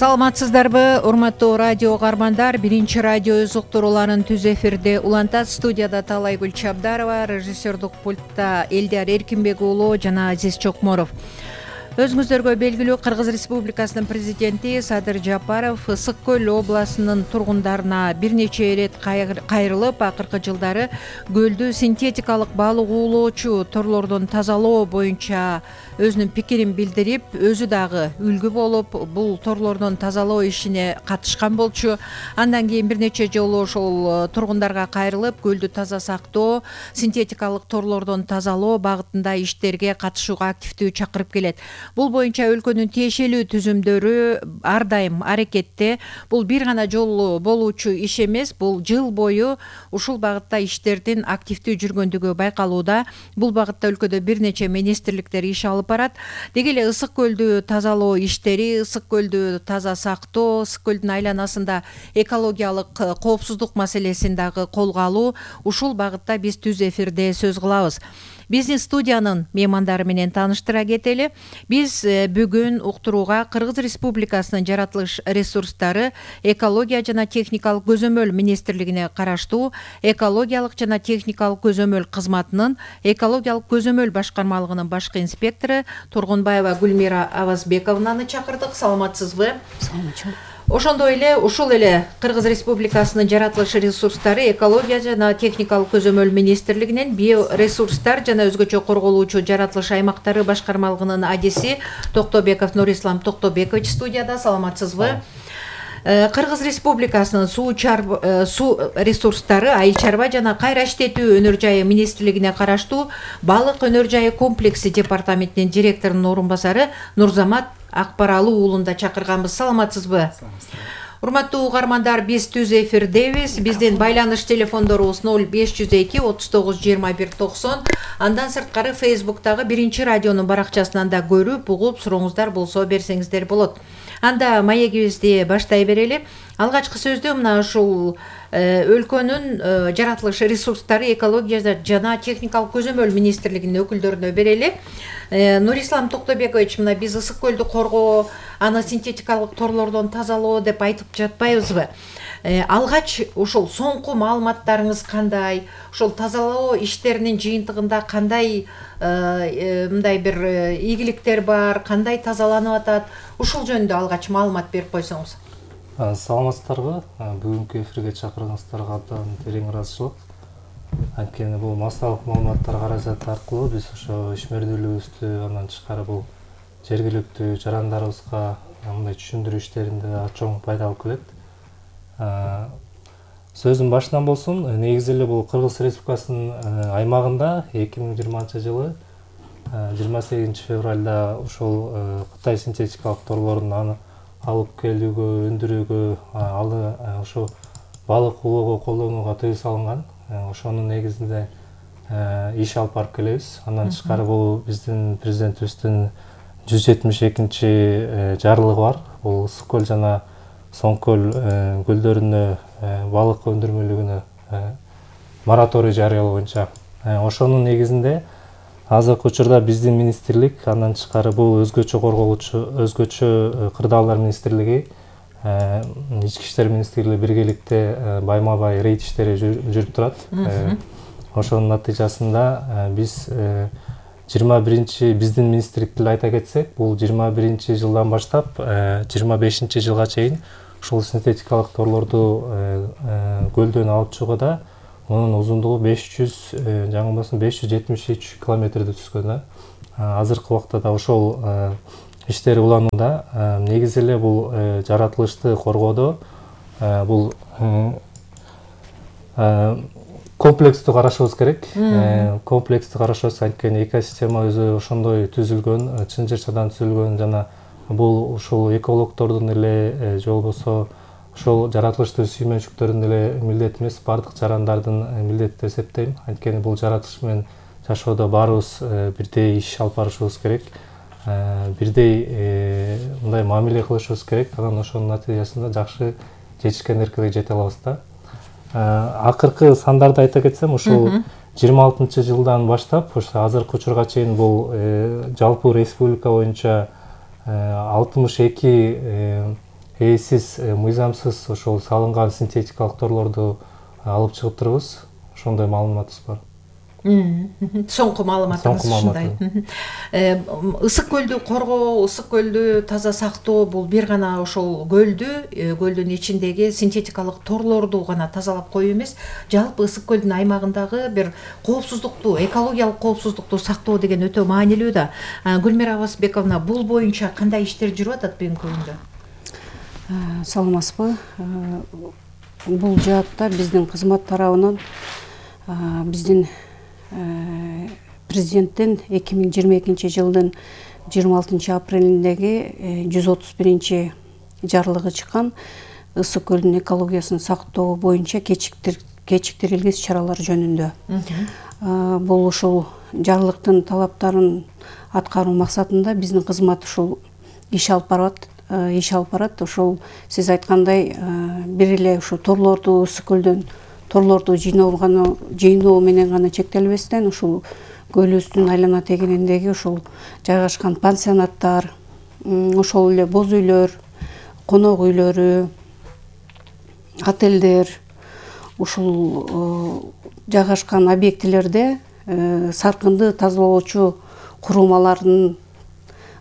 Саламатсыздарбы, урматтуу радио каармандар. Биринчи радио өз уктурууларын түз эфирде улантат. Студияда Талайгүл Чабдарова, режиссердук пультта Элдияр Эркинбек уулу жана Азиз Чокморов. Өзүңүздөргө белгилүү, Кыргыз Республикасынын президенти Садыр Жапаров Ысык Көл областынын тургундарына бир нече ирет кайрылып, акыркы жылдары көлдү синтетикалык балык уулоочу торлордон тазалоо боюнча өзүнүн пикирин билдирип, өзү дагы үлгү болуп, бул торлордон тазалоо ишине катышкан болчу. Андан кийин бир нече жолу ошол тургундарга кайрылып, көлдү таза сактоо, синтетикалык торлордон тазалоо багытында иштерге катышууга активдүү чакырып келет. Бул боюнча өлкөнүн тиешелүү түзүмдөрү ар дайым аракетте. Бул бир гана жолу болуучу иш эмес, бул жыл бою ушул багытта иштердин активдүү жүргөндүгү байкалууда. Бул багытта өлкөдө бир нече министрликтер иш алып барат. Деги эле Ысык көлдү тазалоо иштери, Ысык көлдү таза сактоо, Ысык көлдүн айланасында экологиялык коопсуздук маселесин дагы колго алуу, ушул багытта биз түз эфирде сөз кылабыз. Биздин студиянын меймандары менен тааныштыра кетели. Биз бүгүн уктурууга Кыргыз Республикасынын жаратылыш ресурстары экология жана техникалык көзөмөл министрлигине караштуу экологиялык жана техникалык көзөмөл кызматынын экологиялык көзөмөл башкармалыгынын башкы инспектору Тургунбаева Гүлмира Авазбековнаны чакырдык. Саламатсызбы? Саламатчы. Ошондой эле ушул эле Кыргыз Республикасынын жаратылыш ресурстары экология жана техникалык көзөмөл министрлигинен биоресурстар жана өзгөчө корголуучу жаратылыш аймактары башкармалыгынын адиси Токтобеков Нурислам Токтобекович студияда. Саламатсызбы? Кыргыз Республикасынын суу ресурстары, айыл чарба жана кайра иштетүү өнөр жайы министрлигине караштуу балык өнөр жайы комплекси департаментинин директорунун орун басары Нурзамат Акбаралы уулунда чакырганбыз. Саламатсызбы? Урматтуу угармандар, биз түз эфирдебиз. Биздин байланыш телефондорубуз 0502 39 21 90. Андан сырткары Facebooktагы биринчи радионун баракчасынан да көрүп, угуп, сурооңуздар болсо берсеңиздер болот. Анда маегибизди баштай берели. Алгачкы сөздү мына ушул өлкөнүн жаратылыш ресурстары экология жана техникалык көзөмөл министрлигинин өкүлдөрүнө берели. Нурислам Токтобекович, мына биз Ысык көлдү коргоо, аны синтетикалык торлордон тазалоо деп айтып жатпайбызбы? Алгач ушул соңку маалыматтарыңыз кандай? Ушул тазалоо иштеринин жыйынтыгында кандай мындай бир ийгиликтер бар, кандай тазаланып атат? Ушул жөнүндө алгач маалымат берип койсоңуз. Саламатсыздарбы? Бүгүнкү эфирге чакырганыңыздарга абдан терең ыраазычылык. Анткени бул массалык маалыматтар каражаты аркылуу биз ошо ишмердүүлүгүбүздү, андан тышкары бул жергиликтүү жарандарыбызга мындай түшүндүрүү иштеринде чоң пайда алып келет. Сөзүм башынан болсун. Негизи эле бул Кыргыз Республикасынын аймагында 2020 жылы 28 февралда ошол Кытай синтетикалык торлорун алып келүүгө, өндүрүүгө, ошо балык уулоого колдонууга тыюу салынган. Ошонун негизинде иш алып барып келебиз. Андан тышкары бул биздин президентибиздин 172 жарлыгы бар. Бул Ысык көл жана Соң көл көлдөрүнө балык өндүрмөлүгүнө мораторий жарыялоо боюнча. Ошонун негизинде азыркы учурда биздин министрлик, андан тышкары бул өзгөчө корголуучу, өзгөчө кырдаалдар министрлиги, ички иштер министрлиги биргеликте байма-бай рейд иштери жүрүп турат. Ошонун натыйжасында биз 21 биздин министрлик тилде айта кетсек, бул 21 жылдан баштап 25 жылга чейин ушул синтетикалык торлорду көлдөн алып чыгууда мунун узундугу 573 километрди түзгөн. Азыркы убакта да ошол иштер уланууда. Негизи эле бул жаратылышты коргоодо бул комплекстүү карашыбыз керек. Комплекстүү карашыбыз, анткени экосистема өзү ошондой түзүлгөн, чын жырчадан түзүлгөн жана бул ушул экологдордун эле же болбосо ошол жаратылышты сүймөнчүктөрдүн эле милдети эмес, бардык жарандардын милдети деп эсептейм. Анткени бул жаратылыш менен жашоодо баарыбыз бирдей иш алып барышыбыз керек, бирдей мындай мамиле кылышыбыз керек. Анан ошонун натыйжасында жакшы жетишкендерге жете алабыз да. Акыркы сандарды айта кетсем, ушул 26 жылдан баштап ошо азыркы учурга чейин бул жалпы республика боюнча 62 ээсиз, мыйзамсыз ошол салынган синтетикалык торлорду алып чыгып турабыз. Ошондой маалыматыбыз бар. Соңку маалыматыңыз ушундай. Ысык көлдү коргоо, ысык көлдү таза сактоо бул бир гана ошол көлдүн ичиндеги синтетикалык торлорду гана тазалап коюу эмес, жалпы ысык көлдүн аймагындагы бир коопсуздукту, экологиялык коопсуздукту сактоо деген өтө маанилүү да. Гүлмира Абасбековна, бул боюнча кандай иштер жүрүп атат бүгүнкү күндө? Саламатсызбы? Бул жаатта биздин кызмат тарабынан биздин президенттин 2022 жылдын 26 апрелиндеги 131 жарлыгы чыккан ысык көлдүн экологиясын сактоо боюнча кечиктирилген иш-чаралар жөнүндө. Бул ушул жарлыктын талаптарын аткаруу максатында биздин кызмат ушул иш алып барат. Ошол сиз айткандай бир эле ушу торлорду, ысык көлдөн торлорду жыйноо менен гана чектелбестен, ушул көлүбүздүн айлана тегениндеги ушул жайгашкан пансионаттар, ошол эле боз үйлөр, конок үйлөрү, отелдер, ушул жайгашкан объектилерде саркынды тазалоочу курулмалардын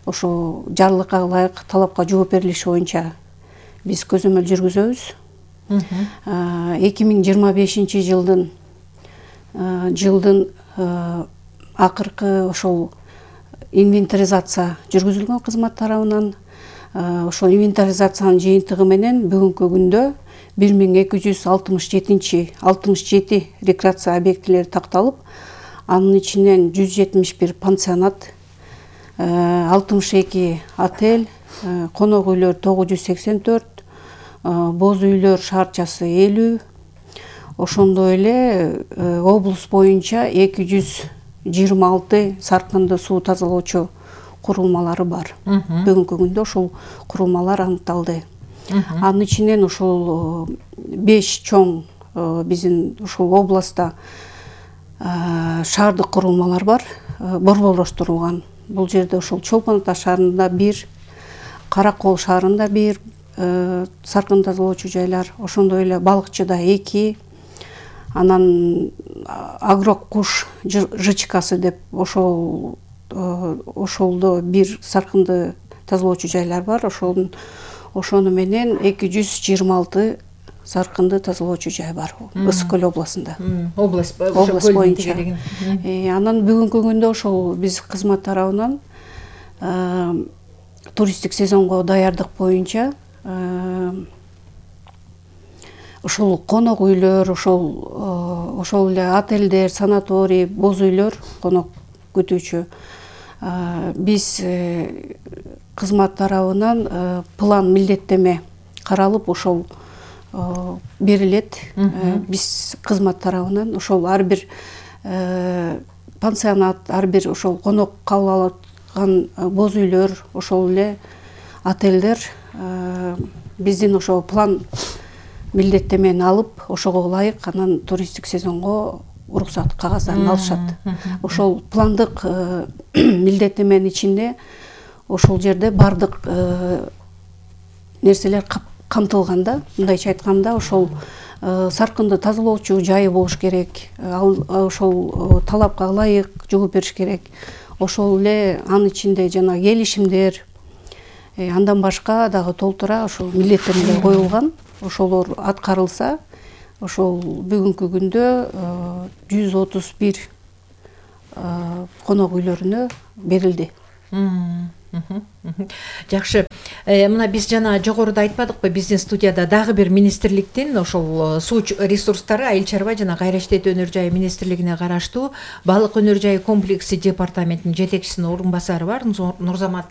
ошо жарлыкка ылайык талапка жооп берилиши боюнча биз көзөмөл жүргүзөбүз. 2025 жылдын акыркы ошол инвентаризация жүргүзүлгөн кызмат тарабынан. Ошол инвентаризациянын жыйынтыгы менен бүгүнкү күндө 1267 рекреация объектилери такталып, анын ичинен 171 пансионат, 62 отель, конок үйлөр 984, боз үйлөр шаарчасы 50, ошондой эле облус боюнча 226 саркынды суу тазалоочу курулмалары бар. Бүгүнкү күндө ошол курулмалар аныкталды. Анын ичинен ошол 5 чоң биздин ушул областта шаардык курулмалар бар, борборлоштурулган. Бул жерде ошол Чолпон Ата шаарында 1, Каракол шаарында 1 саркын тазалоочу жайлар, ошондой эле Балыкчыда 2, анан Агрок куш ЖЧКсы деп ошолдо 1 саркынды тазалоочу жайлар бар. Ошону менен 226 саркынды тазалоочу жай бар Ысык көл областында. Область боюнча. Анан бүгүнкү күндө ошол биз кызмат тарабынан туристтик сезонго даярдык боюнча ошол конок үйлөр, ошол эле отелдер, санаторий, боз үйлөр, конок күтүүчү биз кызмат тарабынан план милдеттеме каралып ошол берилет. Биз кызмат тарабынан ошол ар бир пансионат, ар бир ошол конок кабыл алган боз үйлөр, ошол эле отелдер биздин ошол план милдеттемени алып, ошого ылайык анан туристтик сезонго уруксат кагаздарын алышат. Ошол пландык милдеттеменин ичинде ошол жерде бардык нерселер камтылган да. Мындайча айтканда, ошол саркынды тазалоочу жайы болуш керек, ошол талапка ылайык жооп бериш керек. Ошол эле анын ичинде жана келишимдер, андан башка дагы толтура ошол милдеттемелер коюлган. Ошолор аткарылса, ошол бүгүнкү күндө 131 конок үйлөрүнө берилди. Жакшы. Мына биз жана жогоруда айтпадыкпы, биздин студияда дагы бир министрликтин ошол суу ресурстары, айыл чарба жана кайра иштетүү өнөр жайы министрлигине караштуу балык өнөр жайы комплекси департаментинин жетекчисинин орун басары бар, Нурзамат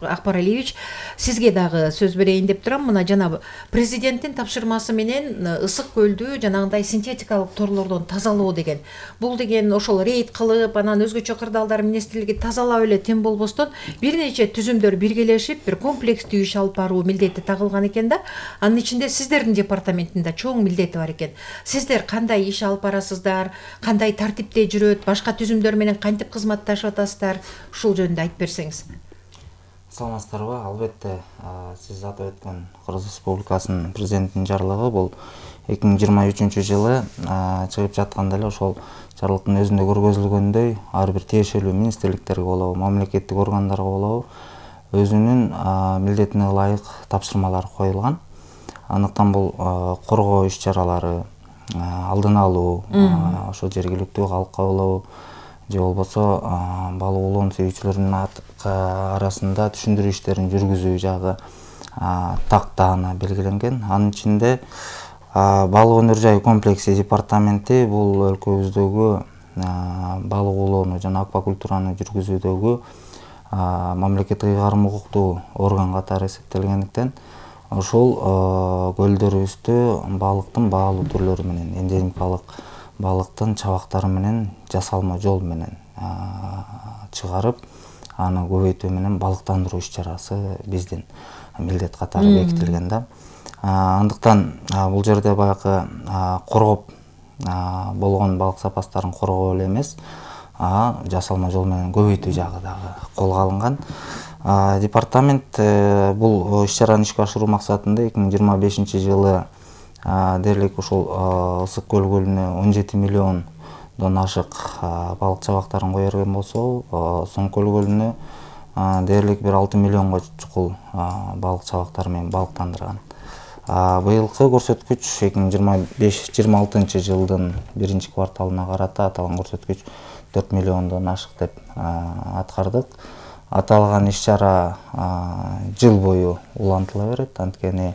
Акбаралиевич. Сизге дагы сөз берейин деп турам. Мына жана президенттин тапшырмасы менен ысык көлдү жанагындай синтетикалык торлордон тазалоо деген. Бул деген ошол рейд кылып, анан өзгөчө кырдаалдар министрлиги тазалап эле тем болбостон бир нече түзүмдөр биргелешип бир комплекстүү иш алып баруу милдети тагылган экен да. Анын ичинде сиздердин департаментинде чоң милдети бар экен. Сиздер кандай иш алып барасыздар, кандай тартипте жүрөт, башка түзүмдөр менен кантип кызматташып атасыздар? Ушул жөнүндө айтып берсеңиз. Саламатсыздарбы? Албетте, сиз атап өткөн Кыргыз Республикасынын президентинин жарлыгы бул 2023-жылы чыгып жатканда эле ошол жарлыктын өзүндө көргөзүлгөндөй ар бир тиешелүү министрликтерге болобу, мамлекеттик органдарга болобу өзүнүн милдетине ылайык тапшырмалар коюлган. Андыктан бул коргоо иш-чаралары, алдын алуу, ошо жергиликтүү калкка болобу же болбосо балык улоон сүйүүчүлөрдүн арасында түшүндүрүү иштерин жүргүзүү жагы тактаана белгиленген. Анын ичинде балык өнөр жайы комплекси департаменти бул өлкөбүздөгү балык улоону жана аквакультураны жүргүзүүдөгү мамлекеттик ыйгарым укуктуу орган катары эсептелгендиктен ошол көлдөрүбүздө балыктын баалуу түрлөрү менен, эндемикалык балыктын чабактары менен жасалма жол менен чыгарып, аны көбөйтүү менен балыктандыруу иш-чарасы биздин милдет катары бекитилген да. Андыктан бул жерде баягы коргоп болгон балык запастарын коргоо эле эмес, жасалма жол менен көбөйтүү жагы дагы колго алынган. Департамент бул иш-чараны ишке ашыруу максатында 2025-жылы дээрлик ушул Ысык көл көлүнө 17 миллиондон ашык балык чабактарын кое берген болсо, Соң көл көлүнө дээрлик бир 6 миллионго чукул балык чабактары менен балыктандырган. Быйылкы көрсөткүч 2025-26-жылдын 1-кварталына карата аталган көрсөткүч 4 миллиондон ашык деп аткардык. Аталган иш-чара жыл бою улантыла берет, анткени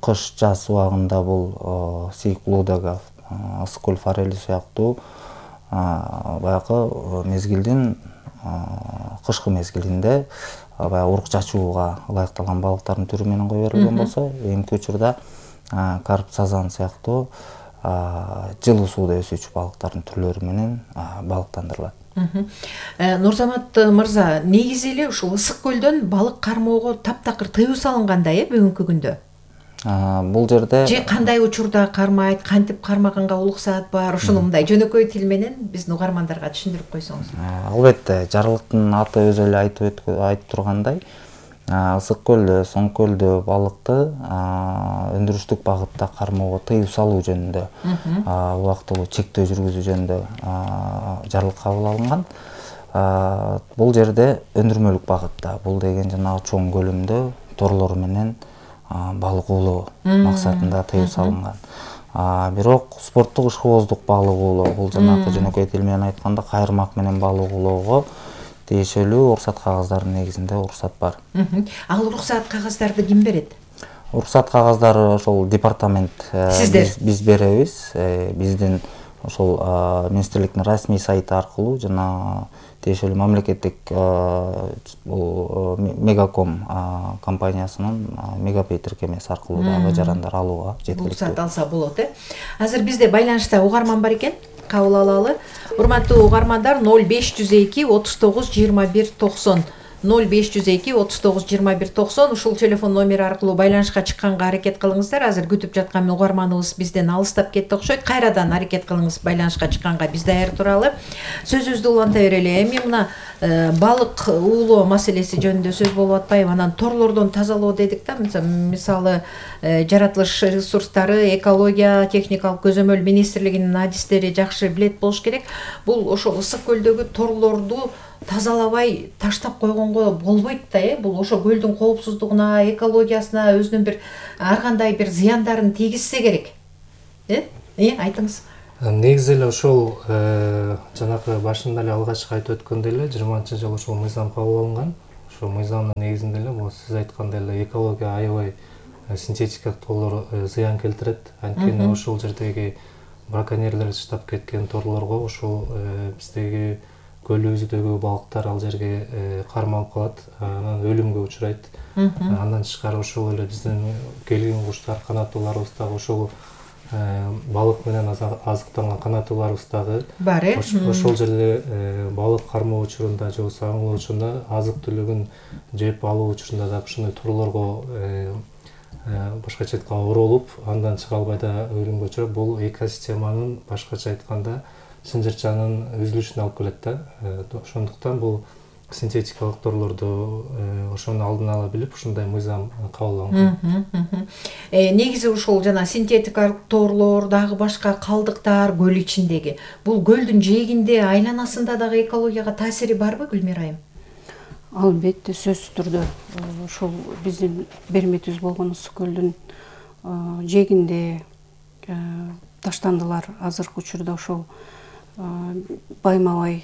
кыш жаз убагында бул Сейк Лудога, Ысык көл форели сыяктуу баягы мезгилдин кышкы мезгилинде баягы урук чачууга ылайыкталган балыктардын түрү менен кое берилген болсо, эмки учурда карп, сазан сыяктуу жылуу сууда өсүүчү балыктардын түрлөрү менен балыктандырылат. Нурзамат мырза, негизи эле ушул Ысык көлдөн балык кармоого таптакыр тыюу салынгандай бүгүнкү күндө. Бул жерде же кандай учурда кармайт, кантип кармаганга уруксаат бар, ушуну мындай жөнөкөй тил менен биздин угармандарга түшүндүрүп койсоңуз. Албетте, жарлыктын аты өзү эле айтып тургандай, Ысык көлдө, Соң көлдө балыкты өндүрүштүк багытта кармоого тыюу салуу жөнүндө убактылуу чектөө жүргүзүү жөнүндө жарлык кабыл алынган. Бул жерде өндүрмөлүк багытта, бул деген жанагы чоң көлөмдө торлор менен балык улоо максатында тыюу салынган. Бирок спорттук ишкыбоздук балык улоо, бул жанагы жөнөкөй тил менен айтканда кайырмак менен балык улоого тиешелүү уруксат кагаздардын негизинде уруксат бар. Ал уруксат кагаздарды ким берет? Уруксат кагаздары ошол департамент биз беребиз. Биздин ошол министрликтин расмий сайты аркылуу жана тиешелүү мамлекеттик Мегаком компаниясынын Мегапей тиркемеси аркылуу дагы жарандар алууга жеткиликтүү. Уруксат алса болот, Азыр бизде байланышта угарман бар экен. Кабыл алалы. Урматтуу угармандар, 0502 39 21 90 0502 39 21 90 ушул телефон номери аркылуу байланышка чыкканга аракет кылыңыздар. Азыр күтүп жаткан угарманыбыз бизден алыстап кетти окшойт. Кайрадан аракет кылыңыз байланышка чыкканга, биз даяр туралы. Сөзүбүздү уланта берели. Эми мына балык уулоо маселеси жөнүндө сөз болуп атпайбы? Анан торлордон тазалоо дедик да, мисалы жаратылыш ресурстары, экология, техникалык көзөмөл министрлигинин адистери жакшы билет болуш керек. Бул ошол Ысык көлдөгү торлорду тазалабай таштап койгонго болбойт да, бул ошо көлдүн коопсуздугуна, экологиясына өзүнүн бир ар кандай бир зыяндарын тийгизсе керек. Айтыңыз. Негизи эле ошол жанагы башында эле алгачкы айтып өткөндөй эле 20-жылы ошол мыйзам кабыл алынган. Ошол мыйзамдын негизинде эле бул сиз айткандай эле экология аябай синтетикалык торлор зыян келтирет. Анткени ошол жердеги браконьерлер таштап кеткен торлорго ошол биздеги көлүбүздөгү балыктар ал жерге кармалып калат, анан өлүмгө учурайт. Андан тышкары ошол эле биздин келген куштар, канаттууларыбыз дагы ошол балык менен азыктанган канаттууларыбыз дагы бар. Ошол жерде балык кармоо учурунда же болбосо аң учурунда азык түлүгүн жеп алуу учурунда дагы ушундай торлорго башкача айтканда оролуп, андан чыга албай да өлүмгө учурап, бул экосистеманын башкача айтканда сынжырчанын үзүлүшүнө алып келет да. Ошондуктан бул синтетикалык торлорду ошону алдын ала билип ушундай мыйзам кабыл алынган. Негизи ушул жана синтетикалык торлор, дагы башка калдыктар көл ичиндеги. Бул көлдүн жээгинде, айланасында дагы экологияга таасири барбы, Гүлмира айым? Албетте, сөзсүз түрдө ошол биздин берметибиз болгон Ысык көлдүн жээгинде таштандылар азыркы учурда ошол байма-бай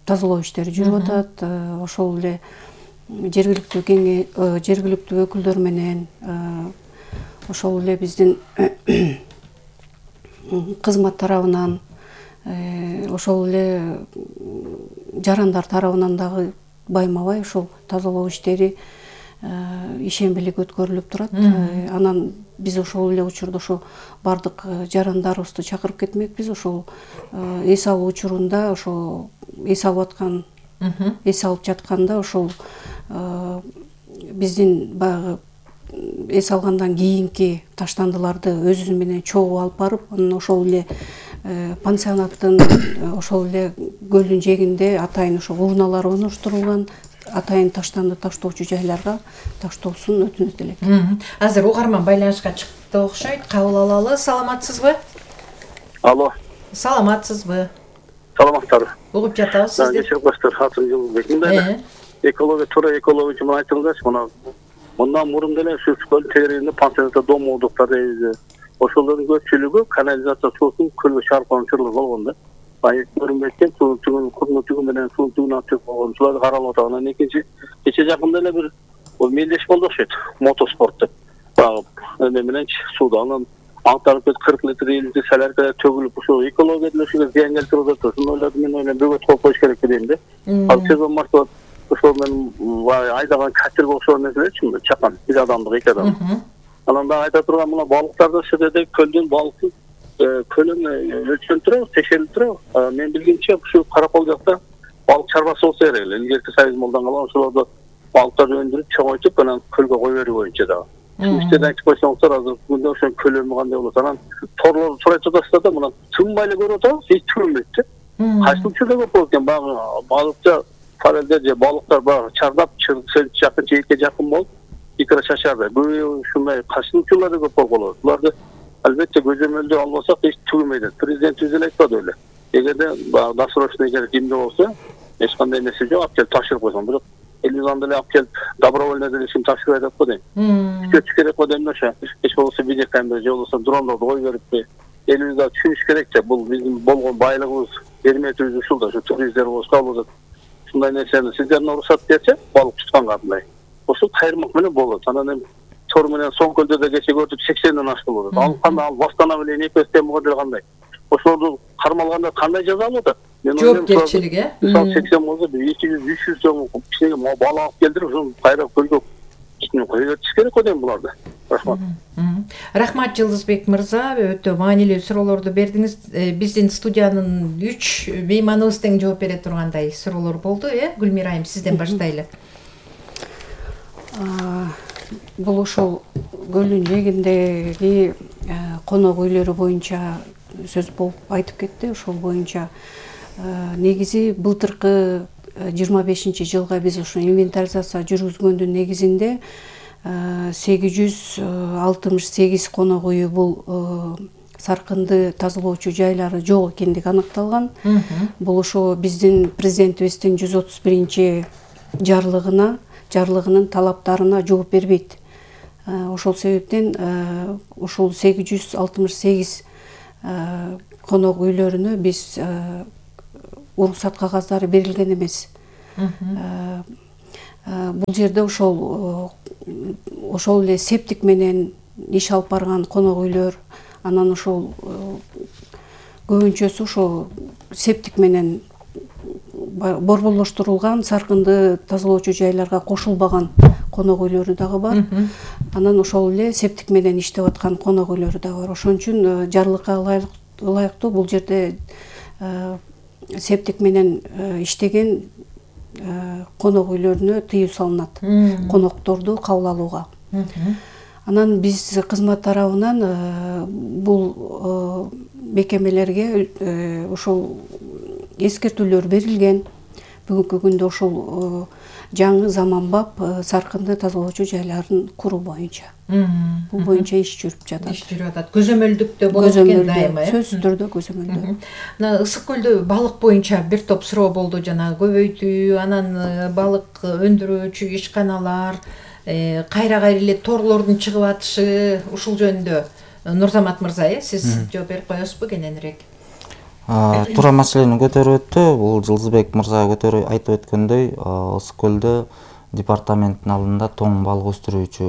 тазалоо иштери жүрүп атат. Ошол эле жергиликтүү өкүлдөр менен ошол эле биздин кызмат тарабынан ошол эле жарандар тарабынан дагы байма-бай ошол тазалоо иштери ишембилик өткөрүлүп турат. Анан биз ошол эле учурда ошо бардык жарандарыбызды чакырып кетмекпиз. Ошол эс алуу учурунда ошо эс алып жатканда ошол биздин баягы эс алгандан кийинки таштандыларды өзү менен чогуу алып барып, анан ошол эле пансионаттын ошол эле көлдүн жээгинде атайын ошо урналар орноштурулган, атайын таштанды таштоочу жайларга таштоосун өтүнөт элек. Азыр угарман байланышка чыкты окшойт. Кабыл алалы. Саламатсызбы? Алло. Саламатсызбы? Саламаттар. Угуп жатабыз сизди. Кечирип коюңуздар, атым Жылбек. Мындай экология, туура экология үчүн айтылгачы, мындан мурун деле ушу көл тегерегинде пансионатта дом ордуктар дейбиз. Ошолордун көпчүлүгү канализация суусун көлгө чарпып чыгып болгон да. Баягы көрүнбөйт суу күнү менен суу алып чыгып болгон. Шуларды каралып атат. Анан экинчи кече жакында эле бир мелдеш болду окшойт. Мотоспорт деп. Баягы эме менен сууда анан аңтарып 40 литр 50 литр салерка төгүлүп ушул экология деле ушуга зыян келтирип атат. Ошону ойлодум, мен ойлойм бөгөт коюп коюш керек дейм да. Ал сезон маршрут ошол мен айдаган катерге окшогон нерселерчи, чакан, бир адамдык, эки адам. Анан да айта турган мына балыктарды ошол жерде көлдүн балыктын көлөмү өлчөнүп турабы, текшерилип турабы. Мен билгенче ушу Каракол жакта балык чарбасы болсо керек эле. Илгерки союз молдан калган ошолорду балыктарды өндүрүп, чоңойтуп, анан көлгө кое берүү боюнча дагы. Иштерди айтып койсоңуздар, азыр күндө ошонун көлөмү кандай болот. Анан торлорду сурайт жатасыздар да, мына тынбай эле көрүп атабыз, эч түгөнбөйт да. Кайсы учурда көп болот экен, баягы балыкча форелдер же балыктар баягы чардап, жакын жээкке жакын болуп, икра чачарды. Бул ушундай кайсы учурларда көп болот. Буларды албетте көзөмөлдөө албасак эч түгөнбөйт. Президентибиз эле айтпады беле. Эгерде досрочный эгер кимде болсо, эч кандай нерсе жок, алып келип тапшырып койсоң, бирок элизан деле алып келип добровольно деле ишин тапшырбайт деп койдойм. Күтүш керек го дейм ошо. Эч болбосо видеокамера же болбосо дрондорду кой бериппи. Элибиз да түшүнүш керек же, бул биздин болгон байлыгыбыз, берметибиз ушул да, ушу туристтер болсо кабыл алат. Ушундай нерсени сиздердин уруксат берсе, балык тутканга андай. Ошол кайрымак менен болот. Анан эми тор менен соң көлдөрдө кече көрдүк 80ден ашты болот. Ал кандай ал бастана беле эпестен могу кандай. Ошолорду кармалганда кандай жаза алып атат? Жоопкерчилик, Мисалы 80 болсо 200-300 сом кичине балык алып келдирип, ошону кайра көлгө кичине кое бериш керек го дейм буларды. Рахмат. Рахмат Жылдызбек мырза, өтө маанилүү суроолорду бердиңиз. Биздин студиянын 3 мейманыбыз тең жооп бере тургандай суроолор болду, Гүлмира айым, сизден баштайлы. Бул ошол көлдүн жээгиндеги конок үйлөрү боюнча сөз болуп айтып кетти. Ошол боюнча негизи былтыркы 25-жылга биз ушу инвентаризация жүргүзгөндүн негизинде 868 конок үйү бул саркынды тазалоочу жайлары жок экендиги аныкталган. Бул ошо биздин президентибиздин 131 жарлыгынын талаптарына жооп бербейт. Ошол себептен ушул 868 конок үйлөрүнө биз уруксат кагаздары берилген эмес. Бул жерде ошол эле септик менен иш алып барган конок үйлөр, анан ошол көбүнчөсү ошо септик менен борборлоштурулган саркынды тазалоочу жайларга кошулбаган конок үйлөрү дагы бар. Анан ошол эле септик менен иштеп аткан конок үйлөрү дагы бар. Ошон үчүн жарлыкка ылайыктуу бул жерде септик менен иштеген конок үйлөрүнө тыюу салынат, конокторду кабыл алууга. Анан биз кызмат тарабынан бул мекемелерге ошол эскертүүлөр берилген. бүгүнкү күндө ушул жаңы заманбап саркынды тазалоочу жайларын куруу боюнча. Бул боюнча иш жүрүп жатат. Иш жүрүп атат. Көзөмөлдүктө болот экен дайыма, сөзсүз түрдө көзөмөлдө. Мына ысык көлдө балык боюнча бир топ суроо болду, жана көбөйтүү, анан балык өндүрүүчү ишканалар, кайра эле торлордун чыгып атышы, ушул жөнүндө Нурзамат мырза, сиз жооп берип коесузбу кененирээк? Туура маселени көтөрүп өттү. Бул Жылдызбек мырза айтып өткөндөй, ысык көлдө департаменттин алдында тоң балык өстүрүүчү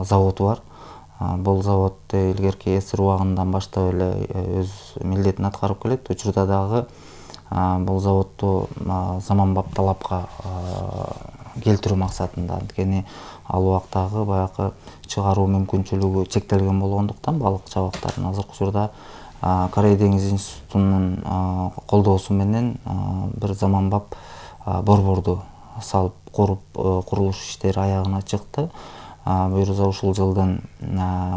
завод бар. Бул завод илгерки СР убагынан баштап эле өз милдетин аткарып келет. Учурда дагы бул заводду заманбап талапка келтирүү максатында, анткени ал убактагы баягы чыгаруу мүмкүнчүлүгү чектелген болгондуктан балык чабактарын азыркы учурда Корей деңиз институтунун колдоосу менен бир заманбап борборду салып куруп, курулуш иштери аягына чыкты. Буюрса ушул жылдын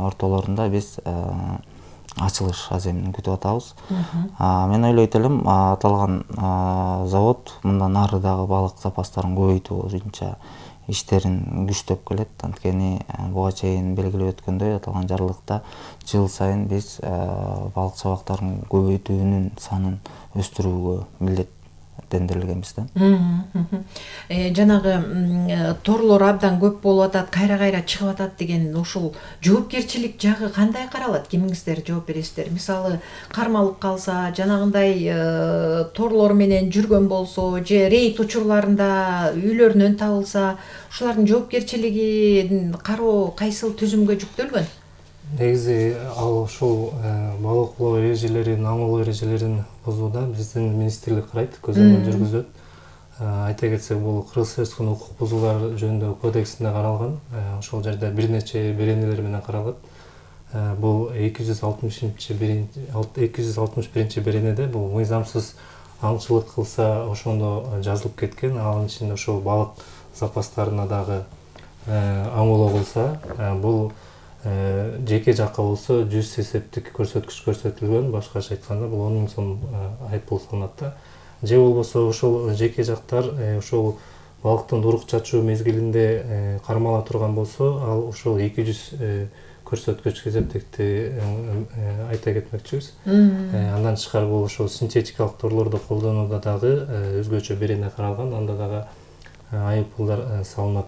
ортолорунда биз ачылыш аземин күтүп атабыз. Мен ойлойт элем, аталган завод мындан ары дагы балык запастарын көбөйтүү боюнча иштерин күчтөп келет. Анткени буга чейин белгилеп өткөндөй, аталган жарлыкта жыл сайын биз балык чабактарын көбөйтүүнүн санын өстүрүүгө милдеттендирилгенбиз да. Жанагы торлор абдан көп болуп атат, кайра чыгып атат деген ушул жоопкерчилик жагы кандай каралат? Кимиңиздер жооп бересиздер? Мисалы, кармалып калса, жанагындай торлор менен жүргөн болсо, же рейд учурларында үйлөрүнөн табылса, ушулардын жоопкерчилигин кароо кайсыл түзүмгө жүктөлгөн? Негизи ал ушул балык улоо эрежелерин, аң улоо эрежелерин бузууда биздин министрлик карайт, көзөмөл жүргүзөт. Айта кетсек, бул Кыргыз Республикасынын укук бузуулар жөнүндө кодексинде каралган. Ошол жерде бир нече беренелер менен каралат. Бул 261 беренеде бул мыйзамсыз аңчылык кылса ошондо жазылып кеткен. Анын ичинде ошол балык запастарына дагы аң улоо кылса, бул жеке жакка болсо 100 эсептик көрсөткүч көрсөтүлгөн. Башкача айтканда бул 10 000 сом айыппул салынат да. Же болбосо ошол жеке жактар ошол балыктын урук чачуу мезгилинде кармала турган болсо, ал ошол 200 көрсөткүч эсептикти айта кетмекчибиз. Андан тышкары бул ошол синтетикалык торлорду колдонууда дагы өзгөчө берене каралган, анда дагы айыппулдар салынат.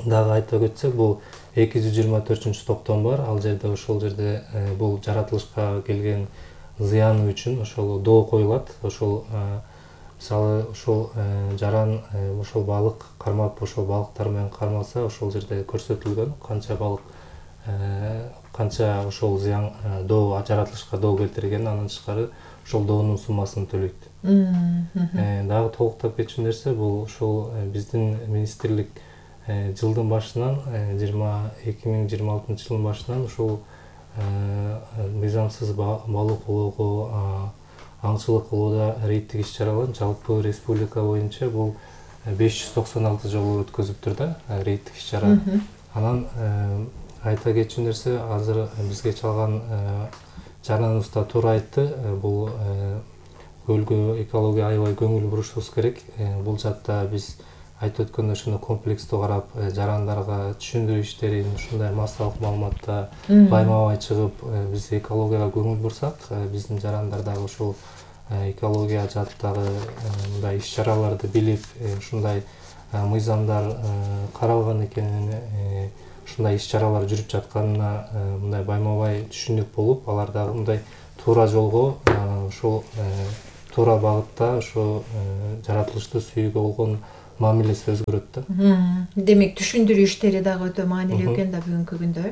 Дагы айта кетсек, бул 224-топтом бар. Ал жерде ошол жерде бул жаратылышка келген зыяны үчүн ошол доо коюлат. Ошол мисалы ошол жаран ошол балык кармап, ошол балыктар менен кармалса, ошол жерде көрсөтүлгөн канча балык канча ошол зыян доо жаратылышка доо келтирген, андан тышкары ошол доонун суммасын төлөйт. Дагы толуктап кетчү нерсе, бул ошол биздин министрлик жылдын башынан 2026 жылдын башынан ушул мыйзамсыз балык улоого, аңчылык кылууда рейдтик иш-чаралар жалпы республика боюнча бул 596 жолу өткөзүптүр да, рейдтик иш-чара. Анан айта кетчү нерсе, азыр бизге чалган жараныбызда туура айтты, бул көлгө экология аябай көңүл бурушубуз керек. Бул жакта биз айтып өткөндөй ошондой комплекстүү карап, жарандарга түшүндүрүү иштерин, ушундай массалык маалыматта байма-бай чыгып, биз экологияга көңүл бурсак, биздин жарандар дагы ошол экология жааттагы мындай иш-чараларды билип, ушундай мыйзамдар каралган экенин, ушундай иш-чаралар жүрүп жатканына мындай байма-бай түшүнүк болуп, алар дагы мындай туура жолго, ошол туура багытта ошо жаратылышты сүйүүгө болгон мамилеси өзгөрөт да. Демек, түшүндүрүү иштери дагы өтө маанилүү экен да бүгүнкү күндө.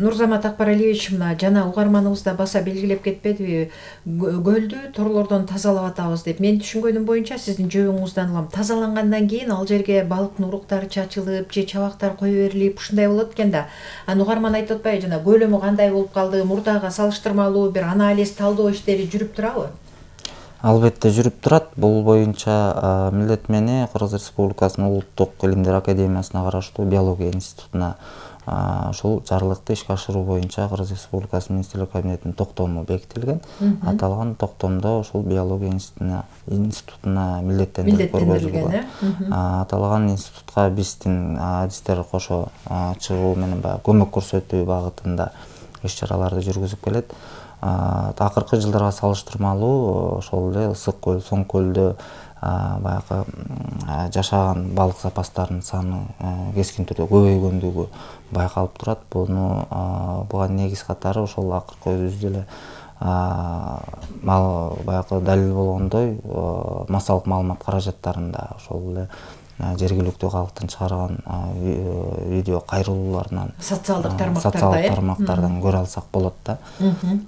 Нурзамат Акбаралиевич, мына жана угарманыбызда баса белгилеп кетпедиби, көлдү торлордон тазалап атабыз деп. Мен түшүнгөнүм боюнча, сиздин жообуңуздан улам тазалангандан кийин ал жерге балыктын уруктары чачылып, же чабактар кое берилип, ушундай болот экен да. Угарман айтып атпайбы, жана көлөмү кандай болуп калды, мурдага салыштырмалуу бир анализ, талдоо иштери жүрүп турабы? Албетте жүрүп турат. Бул боюнча милдет мени Кыргыз Республикасынын Улуттук илимдер академиясына караштуу биология институтуна ушул жарлыкты ишке ашыруу боюнча Кыргыз Республикасы Министрлер Кабинетинин токтому бекитилген. Аталган токтомдо ушул биология институтуна милдеттендирип көргөзүлгөн. Аталган институтка биздин адистер кошо чыгуу менен баягы көмөк көрсөтүү багытында иш-чараларды жүргүзүп келет. Акыркы жылдарга салыштырмалуу ошол эле Ысык көл, Соң көлдө баягы жашаган балык запастарынын саны кескин түрдө көбөйгөндүгү байкалып турат. Буга негиз катары ошол акыркы өзүбүз деле баягы далил болгондой массалык маалымат каражаттарында ошол эле жергиликтүү калктын чыгарган видео кайрылууларынан социалдык тармактардан көрө алсак болот да.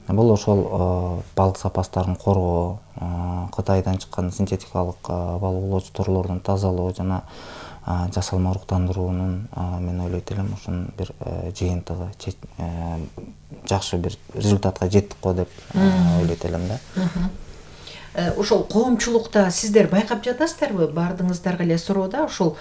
Бул ошол балык запастарын коргоо, Кытайдан чыккан синтетикалык балык оолоочу торлордун тазалоо жана жасалма уруктандыруунун мен ойлойт элем ушунун бир жыйынтыгы, жакшы бир результатка жеттик го деп ойлойт элем да. Ошол коомчулукта сиздер байкап жатасыздарбы? Бардыңыздарга эле суроода ушул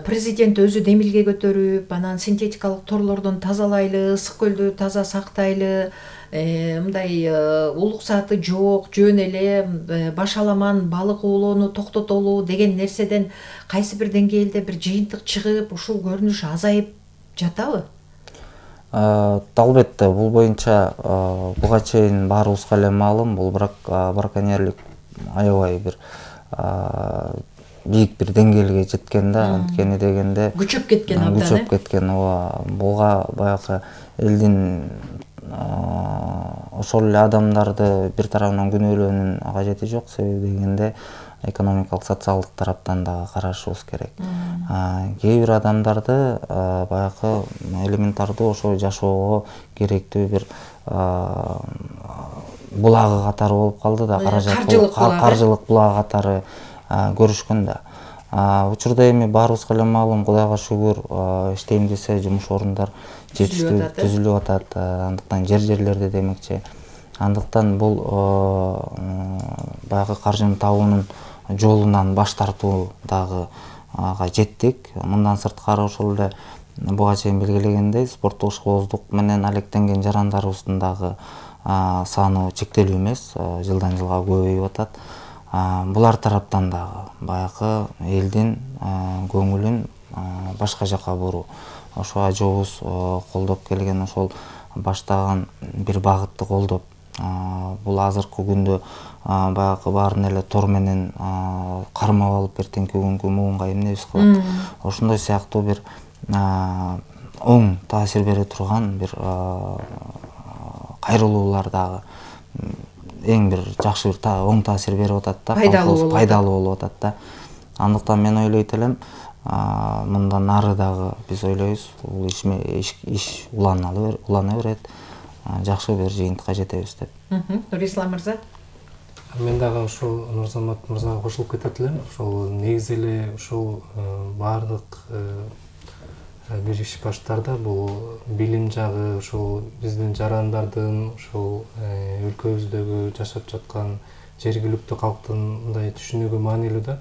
президент өзү демилге көтөрүп, анан синтетикалык торлордон тазалайлы, Ысык көлдү таза сактайлы, мындай улук сааты жок, жөн эле башаламан балык оолоону токтотолу деген нерседен кайсы бир деңгээлде бир жыйынтык чыгып, ушул көрүнүш азайып жатабы? Албетте, бул боюнча буга чейин баарыбызга эле маалым, бул браконьерлик аябай бир бийик бир деңгээлге жеткен да. Анткени дегенде күчөп кеткен абдан. Күчөп кеткен. Буга баягы элдин ошол эле адамдарды бир тарабынан күнөөлөөнүн кажети жок. Себеби дегенде экономикалык, социалдык тараптан дагы карашыбыз керек. Кээ бир адамдарды баягы элементардуу ошо жашоого керектүү бир булагы катары болуп калды да, каржылык булагы катары көрүшкөн да. Учурда эми баарыбызга эле маалым, Кудайга шүгүр, иштейм десе жумуш орундар жетиштүү түзүлүп атат. Андыктан жерлерде демекчи. Андыктан бул баягы каржыны табуунун жолунан баш тартуу дагы жеттик. Мындан сырткары ошол эле буга чейин белгилегендей спорттук ишкыбоздук менен алектенген жарандарыбыздын дагы саны чектелүү эмес, жылдан жылга көбөйүп атат. Булар тараптан дагы баягы элдин көңүлүн башка жака буруу. Ошо ажообуз колдоп келген ошол баштаган бир багытты колдоп, бул азыркы күндө баягы баарын эле тор менен кармап алып эртеңки күнгү муунга эмнебиз кылат. Ошондой сыяктуу бир оң таасир бере турган бир кайрылуулар дагы эң бир жакшы бир оң таасир берип атат да, пайдалуу болуп атат да. Андыктан мен ойлойт элем, мындан ары дагы биз ойлойбуз, бул иш улана берет, жакшы бир жыйынтыкка жетебиз деп. Нурислам мырза? Мен дагы ушул Нурзамат мырзага кошулуп кетет элем. Ошол негизи эле ушул баардык бир иш баштарда бул билим жагы, ошол биздин жарандардын, ошол өлкөбүздөгү жашап жаткан жергиликтүү калктын мындай түшүнүгү маанилүү да.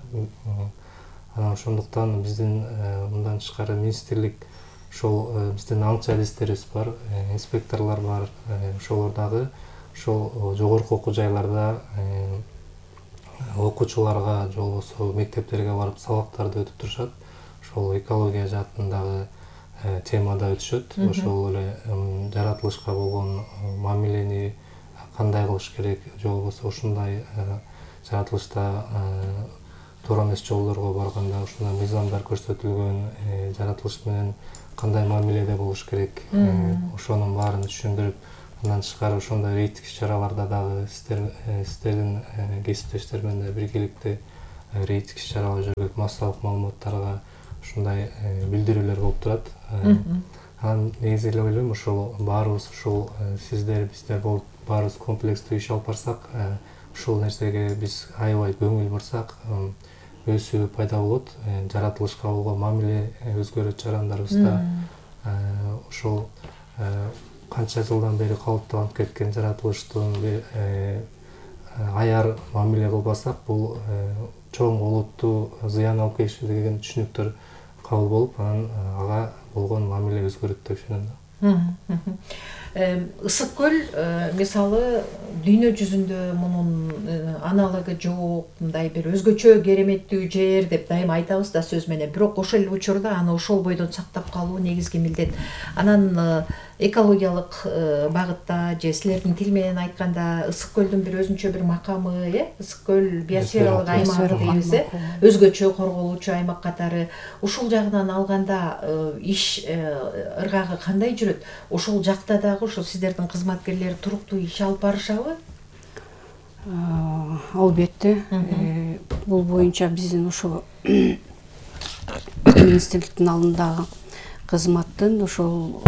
Ошондуктан биздин мындан тышкары министрлик, ошол биздин аңчы адистерибиз бар, инспекторлор бар, ошолор дагы ошол жогорку окуу жайларда окуучуларга же болбосо мектептерге барып сабактарды өтүп турушат. Ошол экология жаатындагы темада өтүшөт. Ошол эле жаратылышка болгон мамилени кандай кылыш керек, же болбосо ушундай жаратылышта туура эмес жолдорго барганда ушундай мыйзамдар көрсөтүлгөн, жаратылыш менен кандай мамиледе болуш керек, ошонун баарын түшүндүрүп, андан тышкары ошондой рейдтик иш-чараларда дагы сиздердин кесиптештер менен да биргеликте рейдтик иш-чаралар жүргүзүп, массалык маалыматтарга ушундай билдирүүлөр болуп турат. Анан негизи эле ойлойм, ошол баарыбыз ушул сиздер, биздер болуп баарыбыз комплекстүү иш алып барсак, ушул нерсеге биз аябай көңүл бурсак, өсүү пайда болот, жаратылышка болгон мамиле өзгөрөт жарандарыбызда. Ошол канча жылдан бери калыптанып кеткен жаратылыштын аяр мамиле кылбасак, бул чоң олуттуу зыян алып келиши деген түшүнүктөр кабыл болуп, анан ага болгон мамиле өзгөрөт деп düşünөм. Ысык көл мисалы дүйнө жүзүндө мунун аналогу жок, мындай бир өзгөчө кереметтүү жер деп дайыма айтабыз да сөз менен. Бирок ошол эле учурда аны ошол бойдон сактап калуу негизги милдет. Анан экологиялык багытта же силердин тил менен айтканда ысык көлдүн бир өзүнчө бир макамы, ысык көл биосфералык аймак дейбиз, өзгөчө корголуучу аймак катары. Ушул жагынан алганда иш ыргагы кандай жүрөт? Ошол жакта дагы ошо сиздердин кызматкерлер туруктуу иш алып барышабы? Албетте. Бул боюнча биздин ошо министрликтин алдындагы кызматтын ошол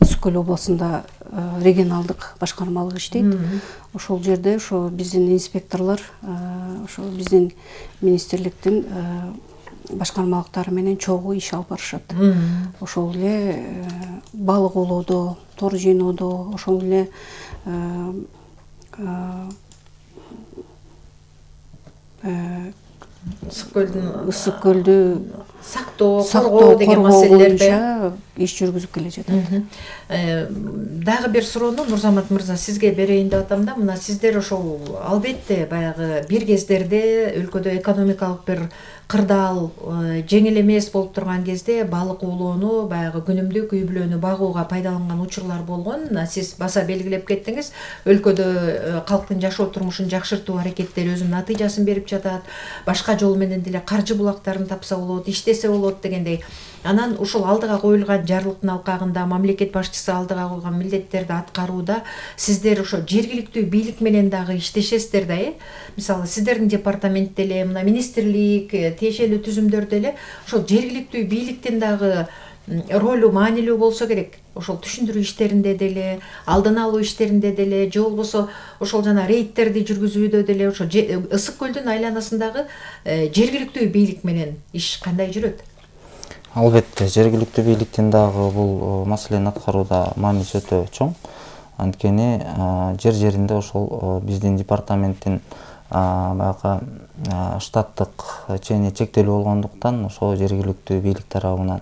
Ысык көл областында регионалдык башкармалык иштейт. Ошол жерде ошо биздин инспекторлор ошо биздин министрликтин башкармалыктары менен чогуу иш алып барышат. Ошол эле балык оолоодо, тор жыйноодо, ошол эле ысык көлдү сактоо, коргоо деген маселелерде иш жүргүзүп келе жатат. Дагы бир суроону Нурзамат мырза сизге берейин деп атам да, мына сиздер ошол албетте баягы бир кездерде өлкөдө экономикалык бир кырдаал жеңил эмес болуп турган кезде балык оолоону баягы күнүмдүк үй бүлөнү багууга пайдаланган учурлар болгон. Сиз баса белгилеп кеттиңиз, өлкөдө калктын жашоо турмушун жакшыртуу аракеттери өзүнүн натыйжасын берип жатат. Башка жол менен деле каржы булактарын тапса болот, иштесе болот дегендей. Анан ушул алдыга коюлган жарлыктын алкагында мамлекет башчысы алдыга койгон милдеттерди аткарууда сиздер ошо жергиликтүү бийлик менен дагы иштешесиздер да, Мисалы, сиздердин департамент деле, мына министрлик, тиешелүү түзүмдөрдө эле ошол жергиликтүү бийликтин дагы ролу маанилүү болсо керек. Ошол түшүндүрүү иштеринде деле, алдын алуу иштеринде деле, же болбосо ошол жана рейдтерди жүргүзүүдө деле ошо Ысык көлдүн айланасындагы жергиликтүү бийлик менен иш кандай жүрөт? Албетте, жергиликтүү бийликтин дагы бул маселени аткарууда мааниси өтө чоң. Анткени жер жеринде ошол биздин департаменттин баягы штаттык чени чектелүү болгондуктан ошо жергиликтүү бийлик тарабынан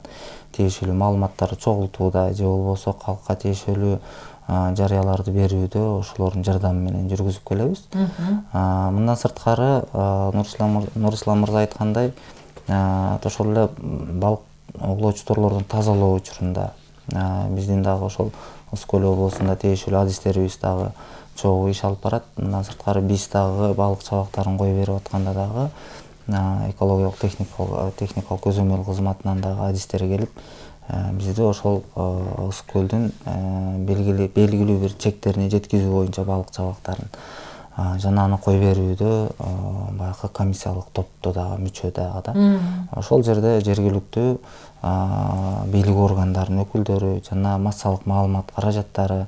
тиешелүү маалыматтарды чогултууда же болбосо калкка тиешелүү жарыяларды берүүдө ошолордун жардамы менен жүргүзүп келебиз. Мындан сырткары Нурислам мырза айткандай, ошол эле балык оолоочу торлордун тазалоо учурунда биздин дагы ошол Ысык көл облусунда тиешелүү адистерибиз дагы чогуу иш алып барат. Мындан сырткары биз дагы балык чабактарын кое берип атканда дагы экологиялык техникалык көзөмөл кызматынан дагы адистер келип бизди ошол Ысык көлдүн белгилүү бир чектерине жеткизүү боюнча балык чабактарын жана аны кое берүүдө баягы комиссиялык топтто дагы мүчө дагы да. Ошол жерде жергиликтүү бийлик органдарынын өкүлдөрү жана массалык маалымат каражаттары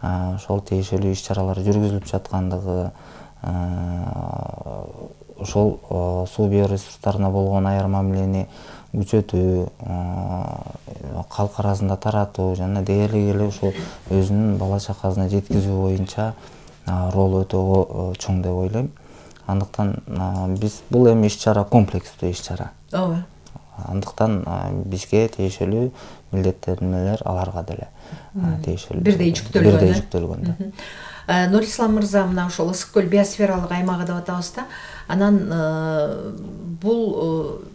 ошол тиешелүү иш чаралар жүргүзүлүп жаткандыгы, ошол суу биоресурстарына болгон аяр мамилени күчөтүү, калк арасында таратуу жана дээрлик эле ошол өзүнүн бала чакасына жеткизүү боюнча ролу өтө чоң деп ойлойм. Андыктан биз бул эми иш чара комплекстүү иш чара. Ооба. Андыктан бизге тиешелүү милдеттенмелер аларга деле тиешелүү. Бирдей жүктөлгөн. Нурислам мырза мына ошол Ысык көл биосфералык аймагы деп атабыз да. Анан бул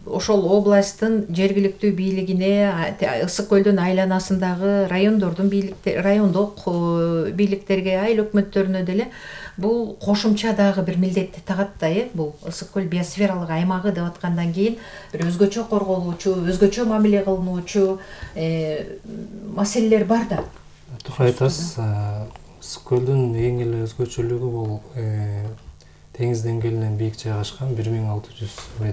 ошол областтын жергиликтүү бийлигине, Ысык көлдүн айланасындагы райондук бийликтерге, айыл өкмөттөрүнө деле бул кошумча дагы бир милдетти тагат да, бул Ысык көл биосфералык аймагы деп аткандан кийин бир өзгөчө корголуучу, өзгөчө мамиле кылынуучу маселелер бар да. Туура айтасыз. Ысык көлдүн эң эле өзгөчөлүгү бул деңиз деңгээлинен бийик жайгашкан 1600 метр